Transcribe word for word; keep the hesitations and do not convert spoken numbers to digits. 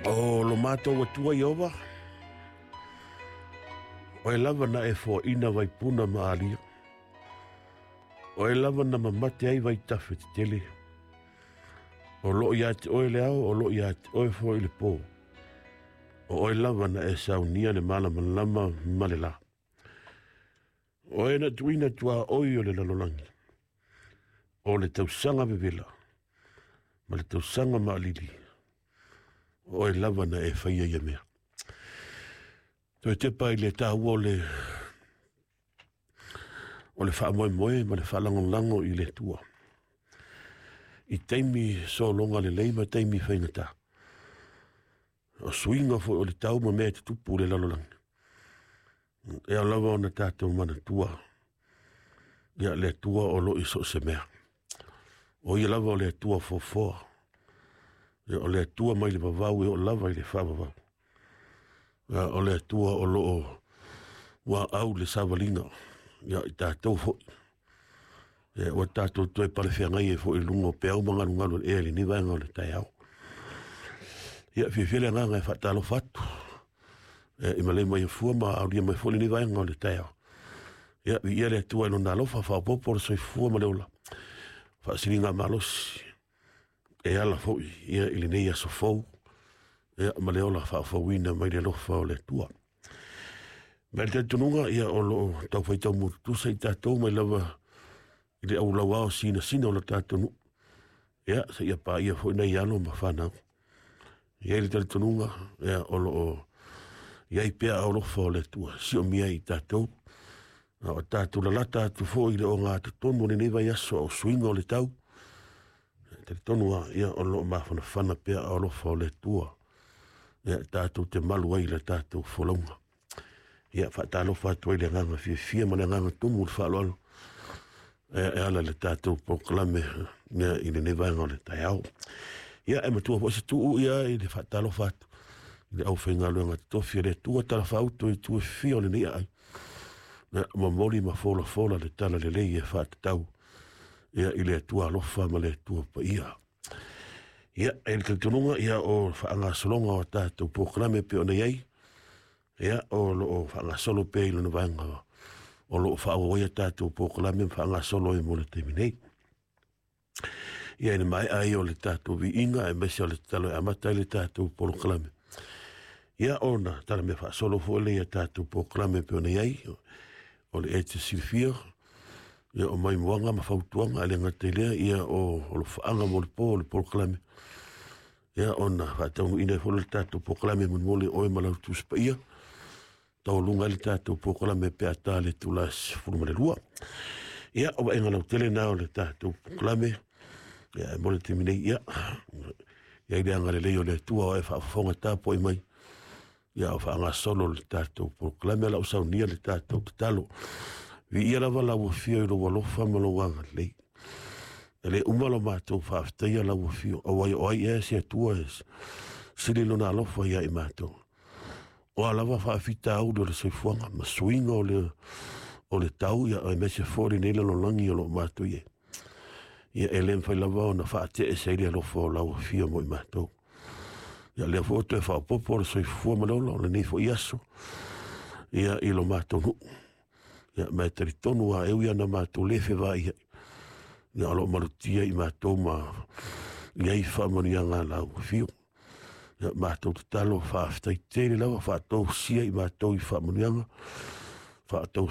O lo matou Atua Ieova, oe lava na e foaina vaipuna ma alia. Oe lava na mamate ai vaitafe tetele. O loo ia te oe le ao, o loo ia te oe foi le pō. O oe lava na e saunia le malamalama ma le lā. Oe na tuuina tuaoi o le lalolagi, o le tausaga vevela ma le tausaga maalili. O oe lava na e faia ia mea. Toe tepa i le taua o le o le faamoemoe ma le faalagolago i le Atua i taimi sologa lelei ma taimi faigata. O suiga foi o le tau ma mea e tutupu i le lalolagi, e ao lava ona tatou manatua ia le Atua o loo i so o se mea. O ia lava o le Atua foafoa, ia o le Atua mai le vavau e oo lava i le faavavau. Ia o le Atua o loo uaau le savaliga ia i tatou foi. Ia ua tatou toe palefeagai ai foi i luga o peau ma galugalu o le ea i lenei vaega o le taeao. Ia fiafia le agaga e faatalofa atu ia i malei mai afua ma aulia mai foi lenei vaega o le taeao. Ia viia le Atua i lona alofa faaopoopo le soifua ma le ola faasiliga malosi e ala foi ia i lenei aso fou ia ma le ola faafouina mai le alofa o le Atua. Ma le talitonuga ia o loo taufai taumututusa i tatou mai lava i le aulauao sinasina o le tatou nuu, ia seia paia foi nai alo ma fanau. E i ai le talitonuga ia o loo i ai pea alofa o le Atua siomia i tatou, a o tatou lalata atu foi i le ogatotonu o lenei vaiaso o suiga o le tau. E talitonu lava ia o loo mafanafana pea alofa o le Atua ia tatou te malu ai i le tatou folauga. Ia faatalofa atu ai le agaga fiafia ma le agaga tumu i le faaaloalo e ala i le tatou polokalame ia i lenei vaega o le taeao. Ia e matua foi se tuu ia i le faatalofa atu i le aufaigaluega totofi a le Atua talafauto i itu e fia o lenei aai. Ia momoli ma folafola le tala lelei e faatatau ia i le Atua alofa ma le Atua paia. Ia e le talitonuga ia o faagasologa o tatou polokalame e pei ona i ai, ia o loo faagasolo pea i lona vaega o loo faaauau ai a tatou polokalame ma faagasolo ai mo le taimi nei. Ia i le maea ai o le tatou viiga aemaise o le tatalo e amata ai le tatou polokalame, ia ona talamea faasolo foi lea ia tatou polokalame e pei ona i ai. O le e te silafia ia o maimoaga ma fautuaga, e le gata i lea ia o alofaaga mo le po o le polokalame, ia ona faataunuuina ai foi le tatou polokalame molimoli oe ma lau Tusi Paia taualuga ai le tatou polokalame pe a ta le itula e sefulu ma le lua. Ia o vaaiga lautele na o le tatou polokalame. Ia e mo le taimi nei, ia i ai le agalelei o le Atua o e faafofoga tapuai mai ia o faagasolo le tatou polokalame. O lau saunia le tatou tatalo, viia lava lau afio i lou alofa ma lou agalelei. E le uma lo matou faafetaia lau afio, auai o ai ea se Atua e sili lona alofa ia i matou. O a lava faafitauli o le soifuaga ma suiga o le o le tau, ia aemaise foi lenei lalolagi o loo matou i ai. Ia e le mafai lava ona faateese ai le alofa o lau afio mo i matou. Ia lea foi o toe faaopoopo le soifua ma le ola o lenei foi aso ia i lo matou nuu. Ia ma e talitonu lava e ui lava ina matou le fevaai ai, ia o loo malutia i matou ma i ai faamanuiaga a lau afio. Ia matou tatalo faafetai tele lava faatausia i matou i faamanuiaga, faatausia